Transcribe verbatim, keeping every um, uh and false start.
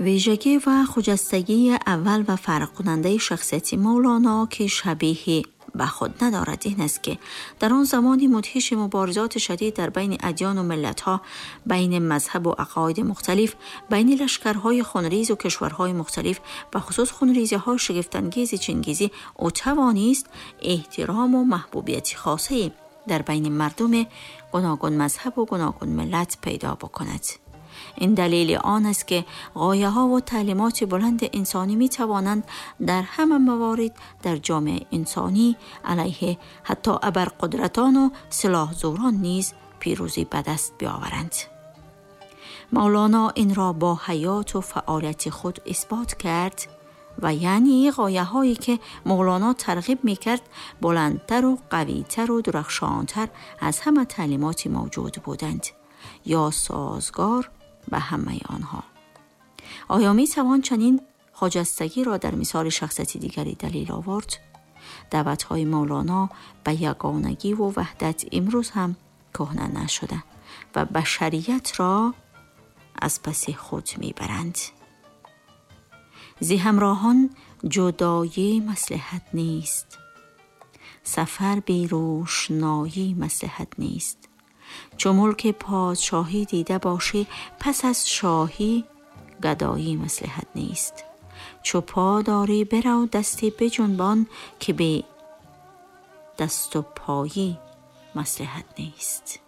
ویژگی و خجستگی اول و فرق کننده شخصیت مولانا که شبیه به خود ندارد این است که در آن زمان مدهش مبارزات شدید در بین ادیان و ملت‌ها، بین مذهب و عقاید مختلف، بین لشکرهای خونریز و کشورهای مختلف، به خصوص خونریزی‌های شگفت‌انگیز چنگیزی، او توانست احترام و محبوبیت خاصی در بین مردم گوناگون مذهب و گوناگون ملت پیدا بکند. این دلیل آن است که غایه ها و تعلیمات بلند انسانی می توانند در همه موارد در جامعه انسانی علیه حتی ابرقدرتان و سلاح زوران نیز پیروزی به دست بیاورند. مولانا این را با حیات و فعالیت خود اثبات کرد و یعنی غایه هایی که مولانا ترغیب می کرد بلندتر و قویتر و درخشانتر از همه تعلیمات موجود بودند یا سازگار به همه آنها. آیا می توان چنین خجستگی را در مثال شخصیت دیگری دلیل آورد؟ دعوت‌های مولانا به یگانگی و وحدت امروز هم کهنه نشده و بشریت را از پس خود میبرند. زی همراهان جدایی مصلحت نیست، سفر بی روشنایی مصلحت نیست. چو ملک پادشاهی دیده باشی، پس از شاهی گدایی مصلحت نیست. چو پا داری برو دستی بجنبان، که به دست و پایی مصلحت نیست.